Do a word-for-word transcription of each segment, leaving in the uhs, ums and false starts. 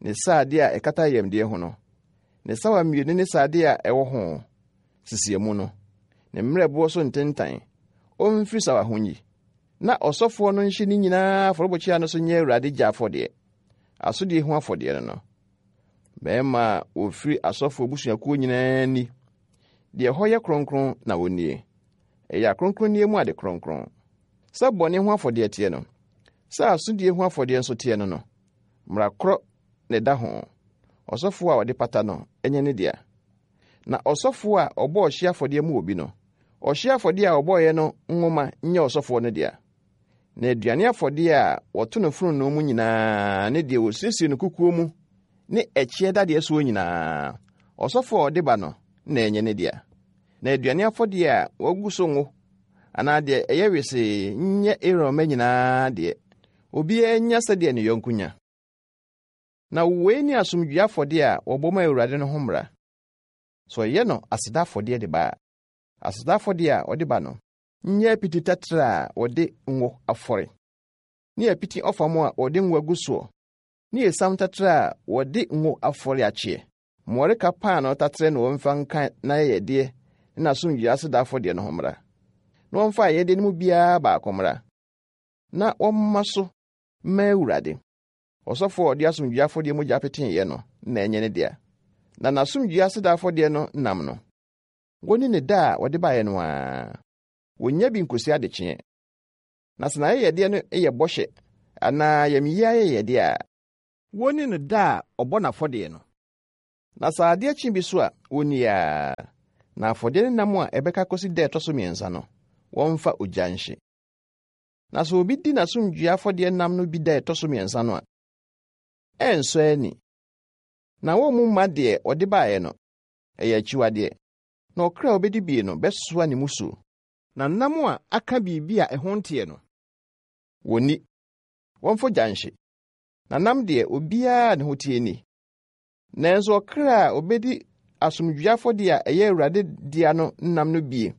ne sradeɛ a ɛkata ayamdeɛ ho no, ne sawa mmienu ne sradeɛ a ɛwɔ ho, sisiamu no, ne mmerɛboɔ so ntentan, ɔmfiri sawa ho nyi. Na ɔsɔfoɔ no nhye ne nyinaa afɔrebukyia no so nyɛ Awurade gya afɔdeɛ, asodie ho afɔdeɛ no no. Mmarima a wɔfiri asɔfoɔ abusuakuo nyinaa ni. Deɛ ɛhɔ yɛ kronkron na wɔnnie. Ɛyɛ akronkronneɛ mu ade kronkron. Sɛ bɔne ho afɔdeɛ teɛ no, sɛ asodie ho afɔdeɛ nso teɛ no no, mmara korɔ na ɛda ho. Ɔsɔfoɔ a ɔde pata no nyɛ ne dea. Na ɔsɔfoɔ a ɔbɔ ɔhyeɛ afɔdeɛ mu obi no, ɔhyeɛ afɔdeɛ a ɔbɔeɛ no nwoma nyɛ ɔsɔfoɔ no dea. Na aduane afɔdeɛ a wɔto no fononoo mu nyinaa ne deɛ wɔsiesie no kukuo mu ne ɛkyeɛ dadeɛ soɔ nyinaa, ɔsɔfoɔ a ɔde ba no na ɛnyɛ ne dea. Na aduane afɔdeɛ a wɔagu so ngo anaa deɛ ɛyɛ wesee nyɛ Aaron mma nyinaa deɛ. Obiara nya sɛdeɛ ne yɔnko nya. Na wei ne asomdwoe afɔdeɛ a wɔbɔ ma Awurade no ho mmara. Sɛ ɔyɛ no aseda afɔdeɛ de ba a, aseda afɔdeɛ a ɔde ba no nyɛ apiti taterɛ a wɔde ngo afɔre, ne apiti ɔfam a wɔde ngo agu soɔ, ne esiam taterɛ a wɔde ngo afɔre akyeɛ. Mmɔreka paanoo taterɛ na wɔmfa nka n'ayɛyɛdeɛ ne n'asomdwoe aseda afɔdeɛ no ho mmra. Na wɔmfa ayɛyɛdeɛ no mu biara baako mmra, na wɔmma so mma Awurade. Ɔsɔfoɔ a ɔde asomdwoe afɔdeɛ mogya peteeɛ no na ɛnyɛ ne dea. Na n'asomdwoe aseda afɔdeɛ no nam no, wɔnni ne da a wɔde baeɛ no ara. Wonnya bi nkosi adekyeɛ. Na sɛ n'ayɛyɛdeɛ no yɛ bɔhyɛ anaa ayamyie ayɛyɛdeɛ a, wɔnni no da a ɔbɔ n'afɔdeɛ no. Na sɛ adeɛ kye bi so a, wɔnni ara. Na afɔdeɛ no nam a ɛbɛka kɔsi da a ɛtɔ so mmiɛnsa no, wɔmfa ogya nhye. Na sɛ obi di n'asomdwoe afɔdeɛ nam no bi da a ɛtɔ so mmiɛnsa no a, ɛnsɔ ani. Na wɔmmu mma deɛ ɔde baeɛ no, ɛyɛ akyiwadeɛ. Na ɔkra a obedi bie no bɛsoa ne mmusuo. Na nam a aka biribi a ɛho nteɛ no, wɔnni. Wɔmfa ogya nhye. Na nam deɛ obiara ne ho teɛ ni. Nanso ɔkra a obedi asomdwoe afɔdeɛ a ɛyɛ Awurade dea no nam no bie,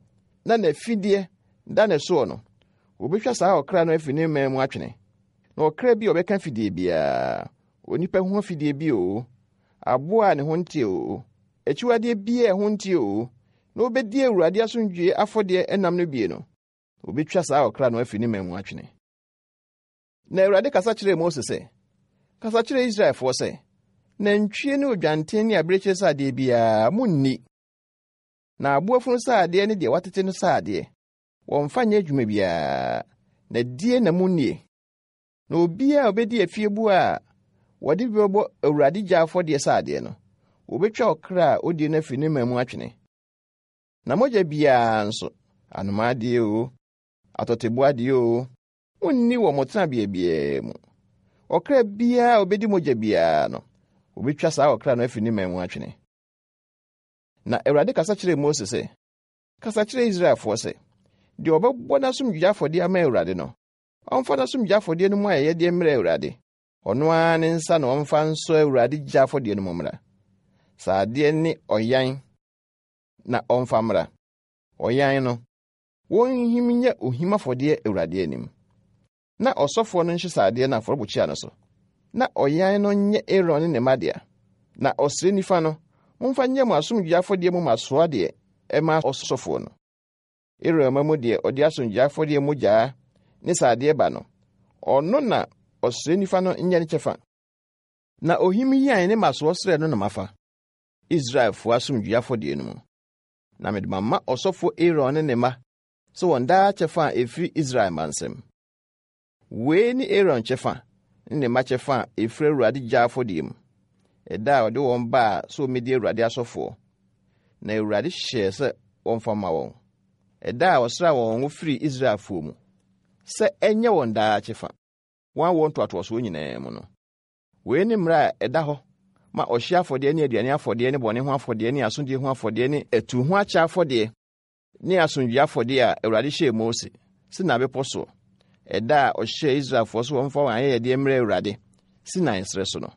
na n'afideɛ da ne soɔ no, wobetwa saa ɔkra no afi ne man mu atwene. Na ɔkra bi a ɔbɛka fidie biara, onipa ho afidie bi oo, aboa a ne ho nteɛ oo, akyiwadeɛ biara a ɛho nteɛ oo, na obedi Awurade asomdwoe afɔdeɛ nam no bie no, obetwa saa ɔkra no afi ne man mu atwene. Na Awurade kasa kyerɛɛ Mose sɛ, Kasa kyerɛ Israelfoɔ sɛ, nantwie ne odwanten ne abirekyie sradeɛ biara munni. Na aboa funu sradeɛ ne deɛ watete no sradeɛ, wɔmfa nyɛ adwuma biara, na die na munnie. Na obiara a obedi afieboa a wɔde bi bɛbɔ Awurade gya afɔdeɛ sradeɛ no, wobetwa ɔkra a odie no afi ne man mu atwene. Na mogya biara nso, anomaa deɛ oo, atɔteboa deɛ oo, munni wɔ mo tenabea biara mu. Ɔkra biara a obedi mogya biara no, wobetwa saa ɔkra no afi ne man mu atwene. Na Awurade kasa kyerɛɛ Mose sɛ, Kasa kyerɛ Israelfoɔ sɛ, deɛ ɔbɛbɔ n'asomdwoe afɔdeɛ ama Awurade no, ɔmfa n'asomdwoe afɔdeɛ no mu ayɛyɛdeɛ mmrɛ Awurade. Ɔno ara ne nsa na ɔmfa nsɔ Awurade gya afɔdeɛ no mu mmra. Sradeɛ ne ɔyan na ɔmfa mmra. Ɔyan no, wɔnhim nyɛ ohim afɔdeɛ Awurade anim. Na ɔsɔfoɔ no nhye sradeɛ no afɔrebukyia no so. Na ɔyan no nyɛ Aaron ne ne mma dea. Na ɔsrɛ nifa no, momfa nyɛ mo asomdwoe afɔdeɛ mu mmasoɔ deɛ ɛma ɔsɔfoɔ no. Aaron mma mu deɛ ɔde asomdwoe afɔdeɛ mogyaa ne sradeɛ ba no, ɔno na ɔsrɛ nifa no nyɛ ne kyɛfa. Na ohim yan ne mmasoɔ srɛ no na mafa, Israelfoɔ asomdwoe afɔdeɛ no mu. Na mede mama ɔsɔfoɔ Aaron ne ne mma sɛ wɔn daa kyɛfa a ɛfiri Israel mma nsam. Wei ne Aaron kyɛfa ne ne mma kyɛfa a ɛfiri Awurade gya afɔdeɛ mu, ɛda a ɔde wɔn baa sɛ wɔmmɛdi Awurade asɔfoɔ. Na Awurade hyɛɛ sɛ wɔmfa mma wɔn. Ɛda a ɔsraa wɔn ngo firii Israelfoɔ mu, sɛ ɛnyɛ wɔn daa kyɛfa, wɔn awoɔ ntoatoasoɔ nyinaa mu no. Wei ne mmara a ɛda hɔ ma ɔhyeɛ afɔdeɛ ne aduane afɔdeɛ ne bɔne ho afɔdeɛ ne asomdwoe ho afɔdeɛ ne atuo ho akyɛ afɔdeɛ ne asomdwoe afɔdeɛ a Awurade hyɛɛ Mose Sinai bepɔ soɔ, ɛda a ɔhyɛɛ Israelfoɔ so wɔmfa wɔn ayɛyɛdeɛ mmrɛ Awurade Sinai serɛ so no.